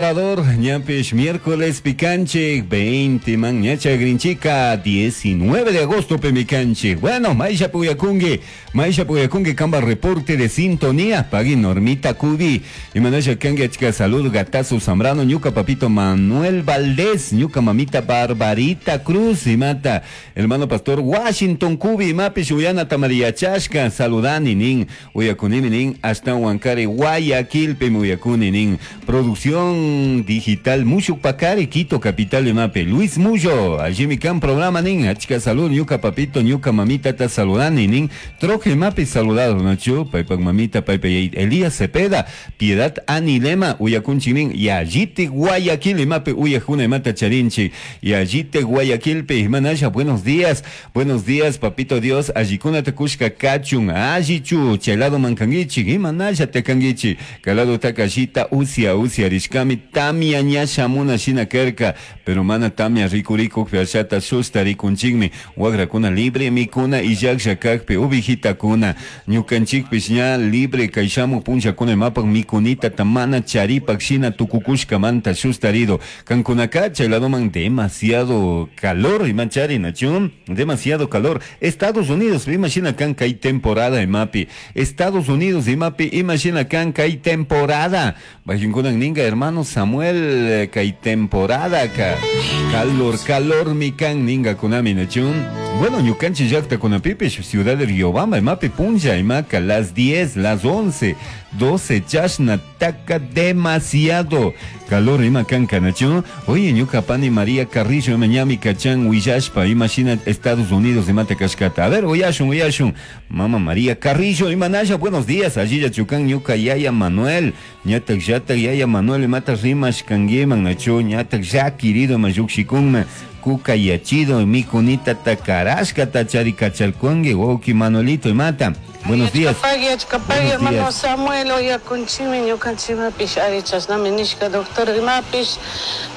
Ñapish miércoles picanche 20 man ñacha grinchica 19 de agosto pemicanche. Bueno, Maisha Puyakungi, Maisha Puyakungi kamba reporte de sintonía, pagui Normita Cubi. Y manasha kangi chica salud gatazo Zambrano, ñuca papito Manuel Valdés, ñuca mamita Barbarita Cruz y mata, hermano pastor Washington Cubi, mapish uyana tamaria chashka, saludani nin, uyakunimi nin, hasta Huancari, Guayaquil, pemuyakuni nin, producción digital Mushuk Pacari, Quito, capital de Mape. Luis Muyo, allí mi can programa nin, achka salud, ñuka papito, ñuka mamita ta saludani nin, troje mape saludado, nacho, paipak mamita, paipa Elías Cepeda, Piedad Anilema, uyakunchi nin, yallite Guayaquil, mape uyajuna mata charinchi, yallite Guayaquil, pe manasha, buenos días, papito Dios, allikuna te kushka kachun, allichu, chelado mankangichi, imanasha te kangichi, calado takashita, usia, usia, rishkami, tamia ña shamuna shina kerka, pero mana tamia rikuriku fiashata susta rikunchikmi, wagrakuna libre mikuna illaklla kakpi, uvijitakuna, ñukanchikpish ña libre kayshamu punllakuna imapak mikunita tamana charipak shina tukukushkamanta sustarido, kankunaka chayladoman demasiado calor, imachari nachun, demasiado calor, Estados Unidos, imagina kan kay temporada imapi, Estados Unidos imapi, imagina kan kay temporada, bajinkunan ninga hermano Samuel kay temporada ka calor calor mi kan ninga kunami nachun. Bueno, ñukanchi llaqta kunapipish ciudad de Riobamba imapi punlla imaka las 10, las 11, 12 chashna taka demasiado calor ima kan kanachun. Oye, ñuka pani María Carrillo ima ñami kachan willashpa imagina Estados Unidos imata kashkata. A ver, uyashun, uyashun. Mama María Carrillo imanasha, buenos días. Allí ya chukan ñuka yaya Manuel. Ñatak llatak yaya Manuel imata rimash kanguiman nachu ñatak ya querido mayukshikunma. Kuka yachido mikunita takarashka tachari kachalkungi woki Manuelito imata. Buenos días. Achkapagui, hermano Samuel, oyakunchimi, ñukanchimapish ari chashnami nishka doctor imapish,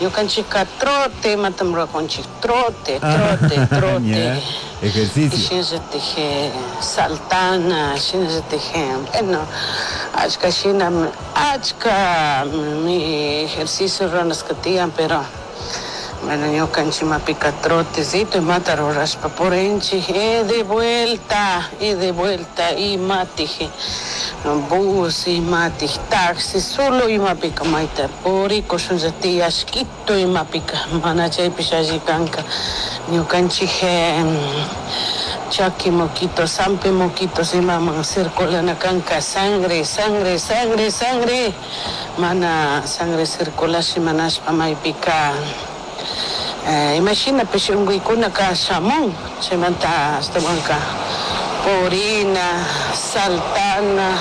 ñukanchika trote, imatam ruwakunchik, trote, trote, trote. Ejercicio. Shinallatik saltana, shinallatik, bueno, achka shina, achka mi ejercicio ruranasqa tiyan, pero bueno, ñukanchimapika trotecito imata rurashpa purinchik, y de vuelta, y de vuelta, imatij bus, imatij taxi, solo imapika mayta purikushunlla tiyashkito imapika, mana chaypish alli kanka, ñukanchik chaki moquito, sampi moquitos imaman circulana kanka, sangre, sangre, sangre, sangre, mana sangre circulashi manashpa maypika. Imagina pish unquykunaka shamun, chaymanta ashtawanka purina, saltana,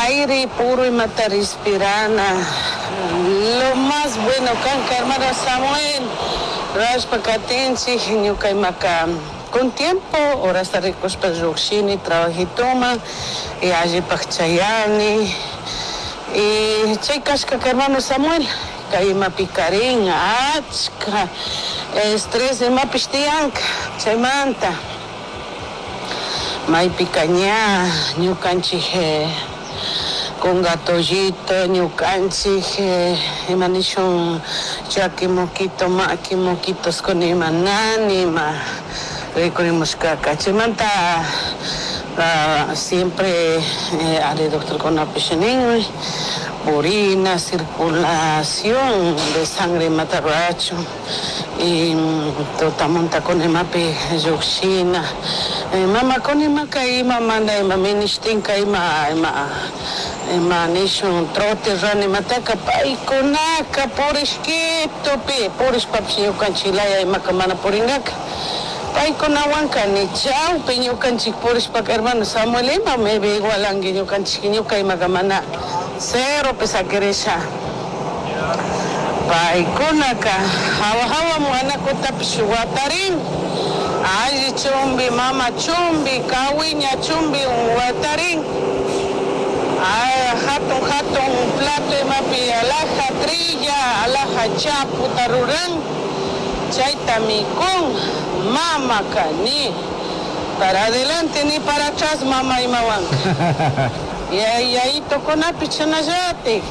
aire puro imata respirana, lo más bueno kanka, hermano Samuel, rashpa katinchik, ñuka imaka con tiempo, horasta rikushpa lluqshini trabajituma, y allipak chayani, y chay kashkaka hermano Samuel, kay imapi karin, achka estrés imapish tiyanka, chaymanta maypika ña ñukanchik kungatollito, ñukanchik ima nishun chaki moquito, maki moquitos con ima nani, ima rikurimushkaka, chaymanta siempre ari doctor kunapish ninmi, purina, circulación de sangre imata rurachun, y tutamunta kun imapi lluqshina, mama kun imaka ima mana ima minishtinka ima, ima, ima nishun trote rurana imataka paykunaka purishkitupi, purishpapish ñukanchik laya imaka mana purinkaka. Paykunawanka ni chawpi ñukanchik purishpaka hermano Samuel ima maybe igualanki ñukanchik ñuka imaka mana cero saquirisha. Paykunaka hawa hawa muanakutapish watarin, alli chumbi, mama chumbi, kawiña chumbi watarin. Ay, hatun hatun plato imapi alhaja trilla, alhaja chaputa ruran, chayta mikun, mamaka ni para adelante ni para atrás mama imawanka. Y ahí, ahí tocó una pichanayate.